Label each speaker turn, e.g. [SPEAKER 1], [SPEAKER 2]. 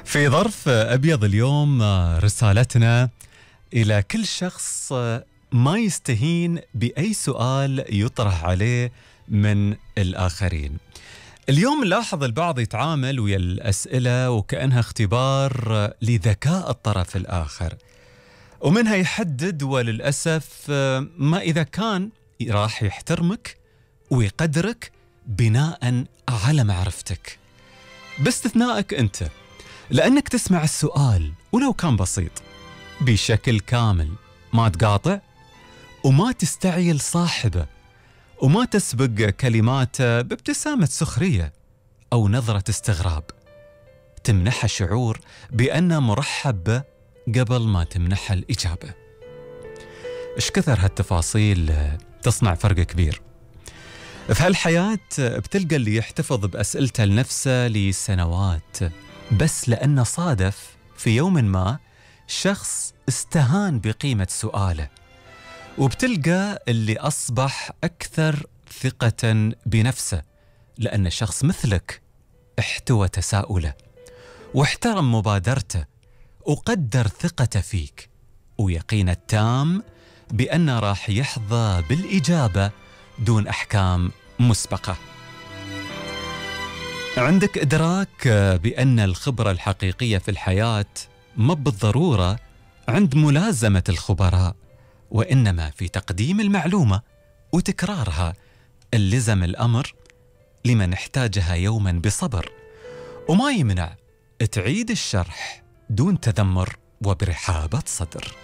[SPEAKER 1] في ظرف أبيض اليوم رسالتنا إلى كل شخص ما يستهين بأي سؤال يطرح عليه من الآخرين. اليوم نلاحظ البعض يتعامل ويا الأسئلة وكأنها اختبار لذكاء الطرف الآخر، ومنها يحدد وللأسف ما إذا كان راح يحترمك ويقدرك بناء على معرفتك، باستثنائك أنت، لأنك تسمع السؤال ولو كان بسيط بشكل كامل، ما تقاطع وما تستعيل صاحبه، وما تسبق كلماته بابتسامة سخرية أو نظرة استغراب تمنحه شعور بأنه مرحب به قبل ما تمنحه الإجابة. إيش كثر هالتفاصيل تصنع فرق كبير في هالحياة. بتلقى اللي يحتفظ بأسئلته لنفسه لسنوات بس لأنه صادف في يوم ما شخص استهان بقيمة سؤاله، وبتلقى اللي أصبح أكثر ثقة بنفسه لأن شخص مثلك احتوى تساؤله واحترم مبادرته وقدر ثقته فيك ويقين التام بأنه راح يحظى بالإجابة دون أحكام مسبقة. عندك إدراك بأن الخبرة الحقيقية في الحياة ما بالضرورة عند ملازمة الخبراء، وإنما في تقديم المعلومة وتكرارها. اللزم الأمر لمن احتاجها يوما بصبر، وما يمنع تعيد الشرح دون تذمر وبرحابة صدر.